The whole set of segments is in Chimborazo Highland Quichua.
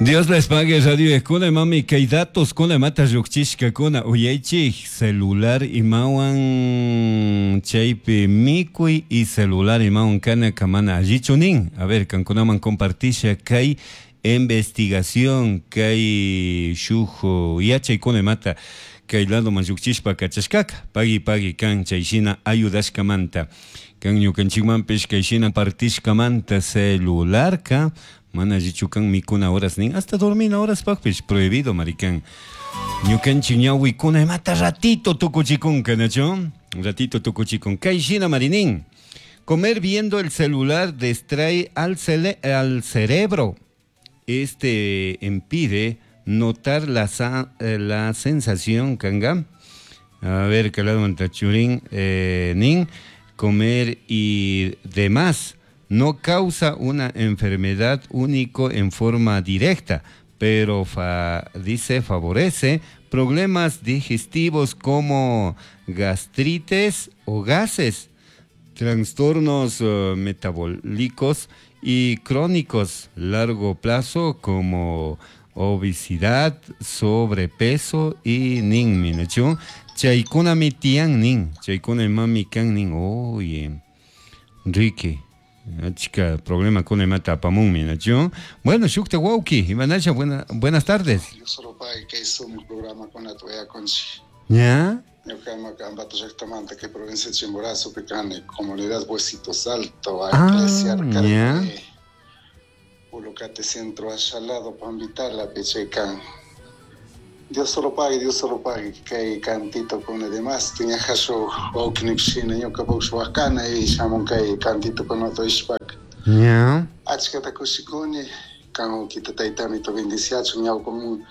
Dios les pague radio escuela mami kay datos kuna mata llukchishkakuna uyaychik celular imawan chaypi mikuy y celular imawan kana kamana allichu nin. A ver, kankunaman compartisha kay investigación kay shuk yachaykuna imata kay ladoman llukchishpa kachashkaka pagui pagui kan chayshina ayudashkamanta kan ñukanchikmanpish kayshina partishkamanta celularka mana allichu kan mikuna horas nin hasta dormina horaspakpish prohibido marikan ñukanchik ñawikuna imata ratito tukuchikunka nachu ratito tukuchikun kayshina marinin comer viendo el celular distrae al, cele al cerebro. Este impide notar la, la sensación kanga. A ver qué lado churin nin comer y demás no causa una enfermedad único en forma directa, pero dice favorece problemas digestivos como gastritis o gases, trastornos metabólicos y crónicos largo plazo como obesidad, sobrepeso y nin minachu. Chaykuna mi tiyan nin, chaykuna mami kan nin, oye, Ricky, chica, problema con imata apamunmi, nachu. Bueno, shukta wauki, imanasha, buenas tardes. Yo solo pague que hizo un programa con la tuya conchi. ¿Ya? Ñuka Ambato llaqtamanta kay provincia de Chimborazo kani comunidad Huesitos Alto, Ah, iglesia ya. Ulocate Centro Achalado, Pambitala, Pechecan. Dios solo pague, Dios solo pague, kay cantito con demás, tiñajaso wawkinipshina, ñuka puksh wakana y shamun kay cantito con otro ishpak. Ya. Achkata kushikuni, kan ukita taytami to bendiciachun, ñawpamun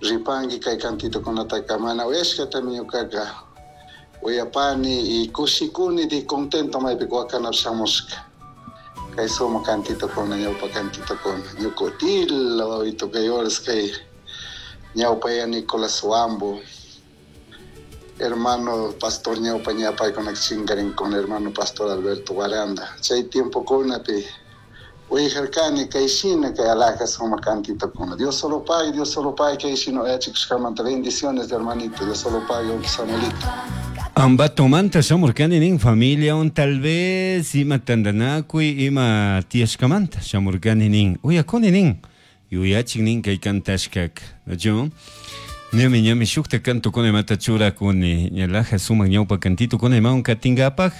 ripangi kay cantito con atakamana, uyashkatami ñukaka uyapani y kushikuni di contento maypi wakanap shamushka. Kay suma cantito con ñawpa cantito con ñukutila wawito kay horas kay ñawpa ya Nicolás Huambo, hermano pastor ñawpa ñapay con chingarin con hermano pastor Alberto Guaranda. Chay tiempo kunapi uyajarkani kay shina kay alhaja suma cantito kuna. Dios solo pague, Dios solo pague, kay shina uyachikushkamanta. Bendiciones, hermanito, Dios solo pague, wawki Samuelito. Ambatomanta shamurkani nin familia un tal vez ima tandanakuy ima tiyashkamanta shamurkani nin uyakuni nin yuyachik nin kay kantashkak nachu ñami ñami shukta kanto kuna imata churakuni ñalaja sumak ñawpa cantito kuna imawan katinkapak.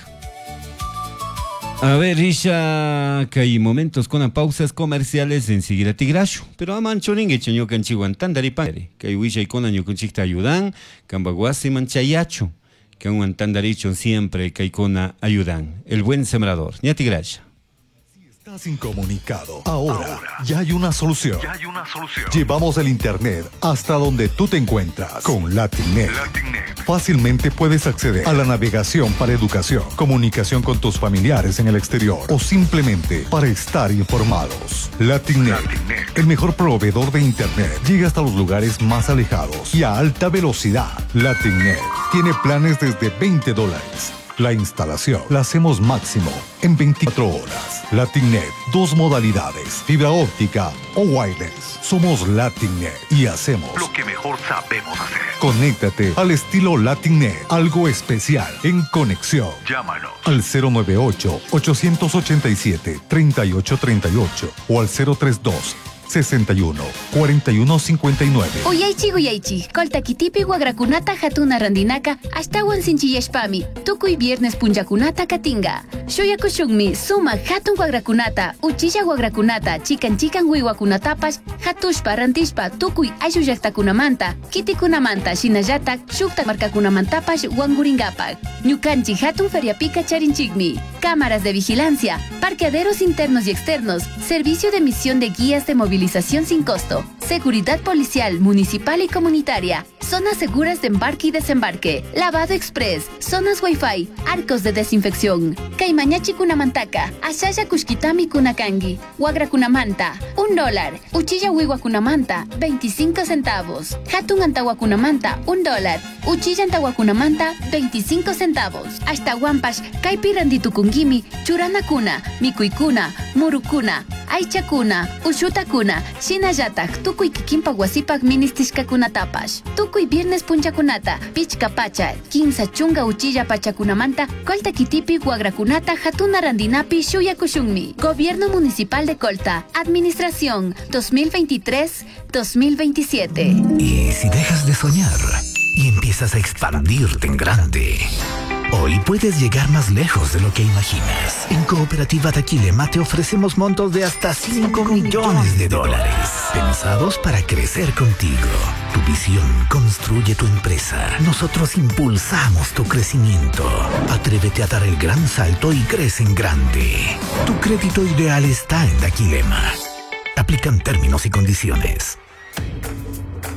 A ver, Risha, kay momentos con pausas comerciales enseguida tigrashu. Pero aman churingue ñukanchikwan tandaripan. Kay willaykuna ñukanchikta ayudan, kampa wasiman chayachu. Kanwan tandarichun siempre kaykuna ayudan. El buen sembrador. Ña tigrasha. Estás incomunicado. Ahora ya hay una solución. Ya hay una solución. Llevamos el internet hasta donde tú te encuentras con LatinNet. LatinNet. Fácilmente puedes acceder a la navegación para educación, comunicación con tus familiares en el exterior o simplemente para estar informados. LatinNet, LatinNet. el mejor proveedor de internet, llega hasta los lugares más alejados y a alta velocidad. LatinNet tiene planes desde veinte dólares. La instalación la hacemos máximo en 24 horas. LatinNet, dos modalidades, fibra óptica o wireless. Somos LatinNet y hacemos lo que mejor sabemos hacer. Conéctate al estilo LatinNet, algo especial en conexión. Llámanos al cero nueve ocho, ochocientos ochenta y siete, treinta y ocho treinta y ocho o al cero tres dos, sesenta y uno, cuarenta y uno, cincuenta y nueve. Uyaychi, uyaychi, koltakitipi wagrakunata hatuna randinaka ashtawan sinchiyashpami, tukuy viernes punllakunata katinga. Shuyakushunmi suma hatun wagrakunata, uchilla wagrakunata, chikan chikan wiwakunatapash, hatushpa rantishpa tukuy ayllu llaqtakunamanta, kitikunamanta, shinallatak shukta markakunamantapash wanguringapak. Ñukanchik hatun feriapika charinchikmi. Cámaras de vigilancia, parqueaderos internos y externos, servicio de emisión de guías de movilización sin costo, seguridad policial, municipal y comunitaria, Zonas seguras de embarque y desembarque, lavado express, zonas wifi, arcos de desinfección. Kay mañachikunamantaka, ashalla kushkitami kunakangi, wagrakunamanta, $1, uchilla wiwakunamanta, 25 centavos, hatun antawakunamanta, $1, uchilla antawakunamanta, 25 centavos. Ashtawanpash, kaypi rantitukunkimi, churanakuna, mikuykuna, murukuna, aychakuna, ushutakuna, shinallatak tukuy kikinpak wasipak ministishkakunatapash. Tukuy viernes punchakunata, pichka pacha, 30 uchilla pachakunamanta, Colta kitipi wagrakunata hatuna randinapi shuyakushunmi. Gobierno Municipal de Colta, Administración 2023-2027. Y si dejas de soñar y empiezas a expandirte en grande, hoy puedes llegar más lejos de lo que imaginas. En Cooperativa Daquilema te ofrecemos montos de hasta $5 millones, pensados para crecer contigo. Tu visión construye tu empresa. Nosotros impulsamos tu crecimiento. Atrévete a dar el gran salto y crece en grande. Tu crédito ideal está en Daquilema. Aplican términos y condiciones.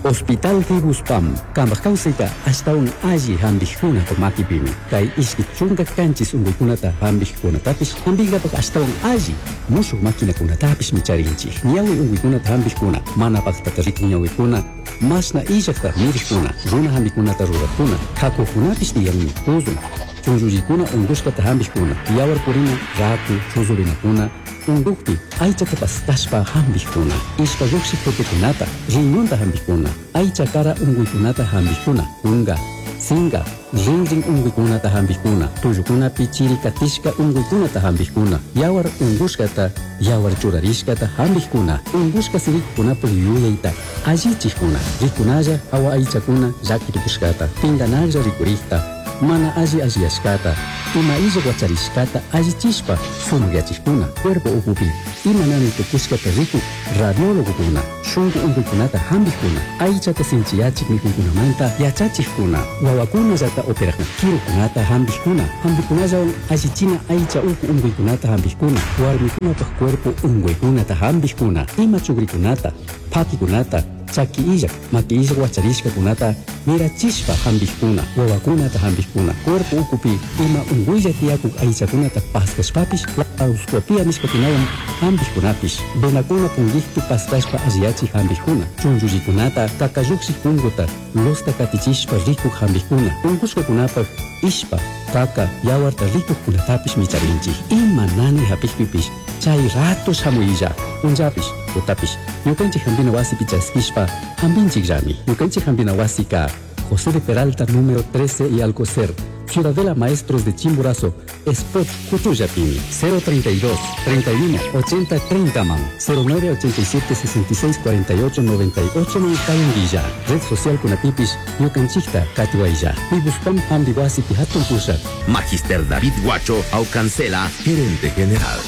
Hospital Fibuspam, kambaj kawsayta ashtawan alli hampikuna makipimi. Kay 27 unkuykunata hampikkunatapish hampinkapak ashtawan alli mushuk maquinakunatapishmi charinchik. Ñawi unkuykunata hampikkuna, mana paktata rikun ñawikuna, mashna illakta mirikkuna, runa hampikunata rurakkuna, kakukunapish tiyanmi, tuzun, chunllullikuna unkushkata hampikkuna, yawar purina, raku, chuzurinakuna, unkukpi aychata paskashpa hampikkuna, ishpa llukshiq tutukunata, riñonta hampikkuna, aycha kara unkuykunata hampikkuna, kunka, sinka, rinrin unkuykunata hampikkuna, tullukunapi chiri katishka unkuykunata hampikkuna, yawar unkushkata, yawar churarishkata hampikkuna, unkushka sirikukunapuk yuyayta allichikkuna, rikunalla hawa aychakuna llakitukushkata, pinkanaklla rikurikta, mana alli alliyashkata, ima illak wacharishkata allichishpa sumakyachikkuna, cuerpo ukupi ima nani tukushkata rikuk radiólogokuna, shunku unkuykunata hampikkuna, aychata sinchiyachik mikuykunamanta yachachikkuna, wawakunallata operakuna, kirukunata hampikkuna, hampikunallawan allichina aycha uku unkuykunata hampikkuna, warmikunapak cuerpo unkuykunata hampikkuna, ima chukrikunata, pakikunata, chaki illak, maki illak wacharishkakunata mirachishpa hampikkuna, wawakunata hampikkuna, cuerpo ukupi ima unkuylla tiyakuk aychakunata paskashpapish laparoscopia nishkakunawan hampikkunapish, venakuna punkikpi paskashpa alliyachik hampikkuna, chunllullikunata kakallukshik punkuta losta katichishpa rikuk hampikkuna, unkushkakunapak ishpa, kaka, yawarta rikukkunatapish micharinchik. Ima nani hapikpipish chay rato shamuylla, punllapish, tutapish, ñukanchik hampina wasipi chaskishpa hampinchikllami. Ñukanchik hampina wasika José de Peralta número 13 y Alcocer, Ciudadela Maestros de Chimborazo, Spot Cutullapimi, 032 31 80 30 man, 09 87 66 48 98 man Cayanguilla, Red Social Kunapipis, Ñukanchikta Katiwaylla, Fibuspam Hampi Wasipi Hatun Pushak. Magister David Guacho Aucancela, gerente general.